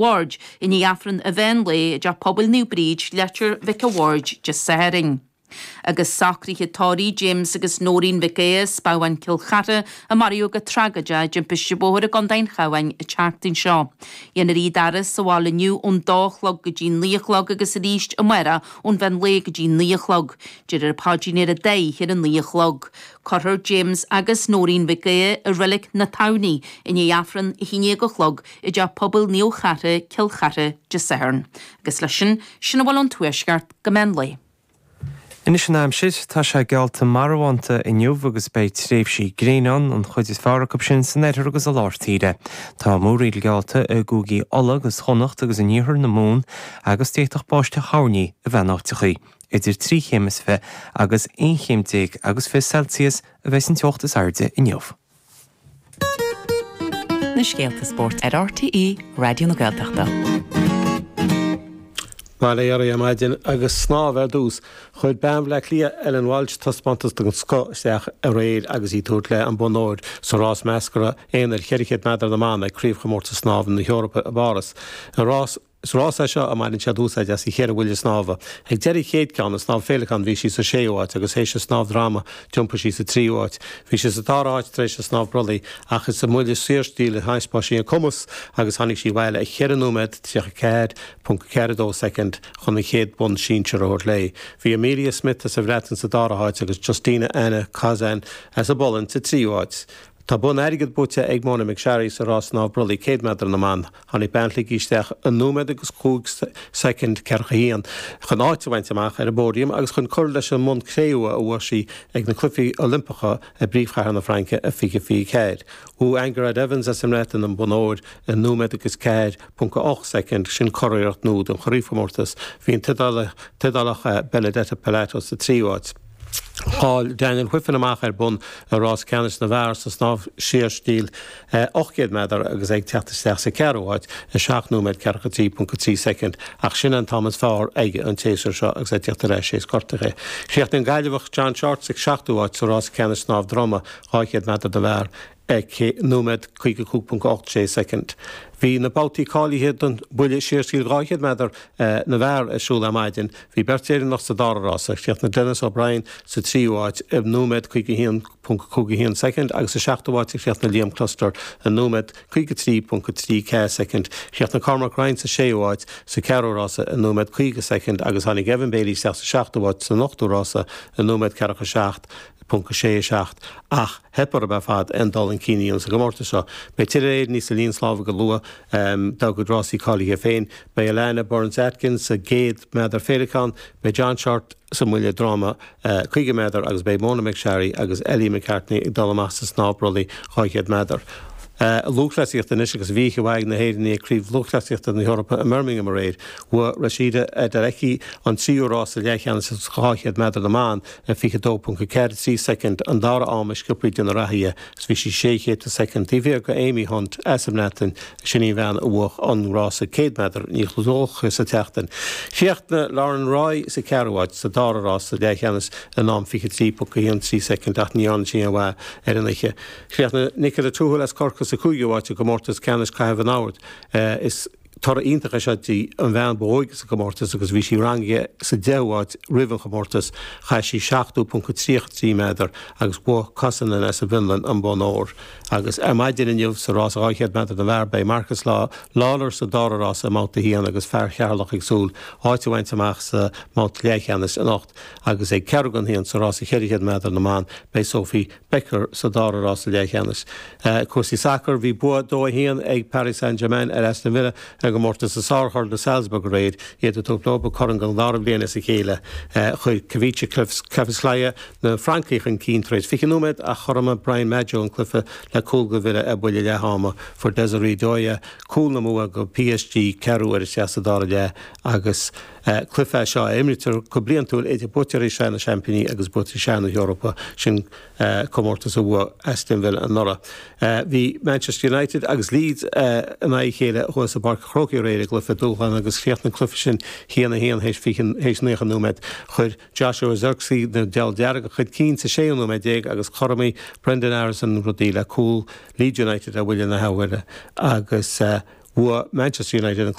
Bhaird i ndiaidh Aifreann an mheán lae i dTeach Pobail Naomh Bríd, Leitir Mhic a' Bhaird, Dé Sathairn. Agus socruithe tórraimh James agus Nóirín Mhic Aodha as Babhán Cill Chartha a maraíodh go tragóideach i dtimpiste bhóthair i gContae an Chabháin an tseachtain seo. Dhéanfar iad a fhaire sa bhaile inniu ón dó a chlog go dtí 9 a chlog agus arís amárach ón mheán lae go dtí 9 a chlog. Déarfar an paidrín ar an dá oíche ar a 9 a chlog. Cuirfear James agus Nóirín Mhic Aodha i Reilig na Tamhnaí i ndiaidh Aifreann 11 a chlog i dTeach Pobail Naomh Chartha, Cill Chartha, Dé Sathairn. Agus leis sin, sin a bhfuil ón Tuaisceart go meán lae. Anois an aimsir, tá sé geallta marbhánta inniu agus beidh tréimhsí gréine ann, an chuid is fearr acu sin san oirthear agus i lár tíre. Tá múraíl geallta i gcúigí Uladh agus Chonnacht agus in iarthar na Mumhan agus d'fhéadfadh báisteach thoirní a bheith in áiteachaí. Idir 3 chéim is 20 agus 11 chéim agus 20 Celsius a bheidh an teocht is airde inniu. Na scéalta spóirt ar RTÉ Raidió na Gaeltachta. Bail ó Dhia oraibh ar maidin agus snámh ar dtús. Chuir bean Bhaile Átha Cliath, Ellen Walshe, taispeántas den scoth isteach aréir agus í ag tabhairt léi an bonn óir sa rás measctha aonair 400 méadar na mban ag Craobhchomórtas Snámha na hEorpa i bPáras. I rás Is rás é seo a mbaineann siad úsáid as an cheithre bhuille snámha. Ag deireadh an chéad ceann, an snámh féileacáin, bhí sí sa séú háit agus théis an snámh droma d'iompaigh sí sa tríú háit. Bhí sí sa dara háit tar éis an snámh brollaigh ach is sa mbuille saorstíl a thaispeáin sí a cumas agus tháinig sí abhaile i 4 nóiméad 34.42 soicind chun an chéad bhonn sinsir a thabhairt léi. Bhí Amelia Smith as an Bhreatain sa dara háit agus Justyna Anna Kozan as an bPolainn sa tríú háit. Tá bonn airgid buaite ag Mona McSharry sa rás snámh brollaigh 100 méadar na mban. Tháinig bean Shligigh isteach i nóiméad agus 5 soicind 41 chun áit a bhaint amach ar an bpóidiam agus chun cur leis an mbonn cré-umha a bhuaigh sí ag na Cluichí Oilimpeacha i bpríomhchathair na Fraince i 2024. Bhuaigh Angharad Evans as an mBreatain an bonn óir i nóiméad agus 4.8 soicind, sin curiarracht nua don chraobhchomórtas. Bhí an tIodálach Benedetta Pilato sa tríú háit. Chaill Daniel Wiffen amach ar bonn i rás ceannais na bhfear sa snámh saorstíl 800 méadar agus é ag teacht isteach sa cheathrú háit i 7 nóiméad 43.3 soicind ach sin an t-am is fearr aige an tséasúr seo agus é ag teacht ar ais théis gortaithe. Chríochnaigh an Gaillimheach John Shortt sa seachtú háit sa rás ceannais snámh droma 200 méadar do bhfear i nóiméad 55.86 soicind. Bhí na babhtaí cáilithe don bhuille saorstíl 200 méadar na bhfear ar siúl ar maidin. Bhí beirt Éireannach sa dara rása. Chríochnaigh Denis O'Brien sa tríú háit i nóiméad 51.51 soicind agus sa seachtú háit a chríochnaigh Liam Cluster i nóiméad 53.34 soicind. Chríochnaigh Cormac Ryan sa séú háit sa cheathrú rása i nóiméad 50 soicind agus tháinig Evan Bailey isteach sa seachtú háit san ochtú rása i nóiméad 47.67 ach theip orthu ar fad aon dul chun cinn a dhéanamh sa gcomórtas seo. Beidh tuilleadh Éireannaigh sa líon snámha go luath dá gcuid rásaí cáilithe féin. Beidh Alana Burns-Atkins sa gcéad méadar féileacán, beidh John Shortt sa mbuille droma 50 méadar agus beidh Mona McSharry agus Ellie McCartney ag dul amach sa snámh brollaigh 200 méadar. Lúthchleasaíocht anois agus bhí oíche mhaith ag na hÉireannaigh ag Craobh Lúthchleasaíochta na hEorpa i mBirmingham aréir. Bhuaigh Rhasidat Adeleke an tríú rása leathcheannais sa 200 méadar na mban i 22.43 soicind, an dara am is sciobthaí de na reathaithe, agus bhí sí sé chéadta soicind taobh thiar de Amy Hunt as an mBreatain, sin í an bhean a bhuaigh an rása 100 méadar níos luaithe sa tseachtain. Chríochnaigh Lauren Roy sa cheathrú háit sa dara rás sa leathcheannas in am 23.13 soicind ach ní dhearna sí aon mhaith ar an oíche. Chríochnaigh Nicola Toohill as Corcaigh sa chúigiú háit i gcomórtas ceannais caitheamh an iomaire. Is. Toradh iontach é seo di, an bhean ba óige sa gcomórtas agus bhí sí rangaithe sa deichiú háit roimh an chomórtas. Chaith sí 70.33 méadar agus bhuaigh Kosonen as an bhFionlainn an bonn óir. Agus ar maidin inniu sa rás 200 méadar na bhfear beidh Marcus Lawlor sa dara rása i mbabhta 1 agus fear Cheatharlach ag súil áit a bhaint amach sa mbabhta leathcheannais anocht agus ag ceathrú don haon sa rása 400 méadar na mban beidh Sophie Becker sa dara rása leathcheannais. Cúrsaí sacair, Bhí bua 2-1 ag Paris Saint-Germain ar Aston Villa i gcomórtas na Sárchorn i Salzburg aréir, iad ag tabhairt leo an corn don dara bliain as a chéile. Chuir Khvicha Kvaratskhelia na Francaigh chun cinn tar éis 20 nóiméad ach chothromaigh Brian Madjo an cluiche le cúl do Villa ar buille leath ama. Fuair Desiré Doué cúl na mbua do PSG ceathrú uair isteach sa dara leath agus Cluiche é seo a imrítear go bliantúil idir buaiteoirí Shraith na Seaimpíní agus buaiteoirí Shraith na hEorpa, sin comórtas a bhuaigh Aston Villa anuraidh. Bhí Manchester United agus Leeds in aghaidh a chéile thuas i bPáirc an Chrócaigh aréir i gcluiche dúshláin agus chríochnaigh an cluiche sin 1-1 théis 90 nóiméad. Chuir Joshua Zirkzee na Diabhail Dearga chun cinn sa séú nóiméad déag agus chothromaigh Brenden Aaronson rudaí le cúl Leeds United ar bhuille na hathuaire agus. Bhuaigh Manchester United an.